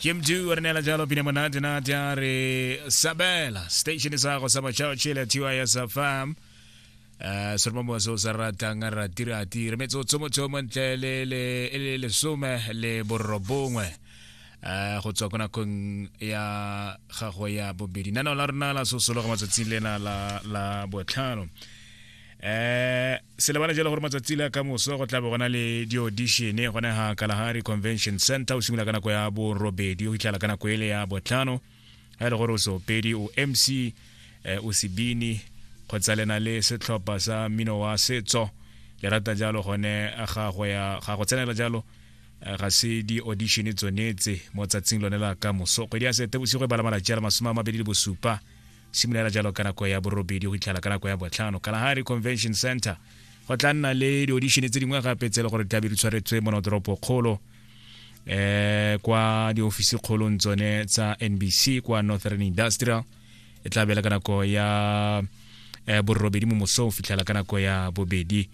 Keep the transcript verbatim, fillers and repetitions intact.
Ke Mdu re neela jalo pina monate nate a re sabela station sa go sa matšhaotšhele T Y S F M, um seromamo se o sa ratang a ratirati re metsotso motho ntle le le le lesome le borobongwe um go tswa ko nakong ya gago ya bobedi. Nanao la rona la sosologa matsatsing lena la la botlhano. eh se lebala jalo gore matsatsi le ka moso go tla be gona le di-audition gone ga Kalahari Convention Center, o simolola ka nako ya borobedi go fitlhela ka nako ele ya botlhano. Ga e le gore o seopedi, o M C, eh, o sebini kgotsa le na le setlhopha sa mmino wa setso, le rata jalo gone ga go ya ga go tsenela jalo, eh, ga se di-audition tsonetse mo tsatsing lone la ka moso, kgwedi ya Seetebosigo e bala malatsi a le masome a mabedi le bosupa, simolola jalo ka nako ya borobedi go fitlhela ka nako ya botlhano, Kalahari Convention Center. Go tla nna le di-audition tse dingwe gape tse e le gore di tlabe di tshwaretswe mo toropo kgolo, eh kwa diofisi kgolong tsone tsa N B C kwa Northern Industrial, e tla bela ka nako ya eh, borobedi mo mosong fitlhela ka nako ya bobedi.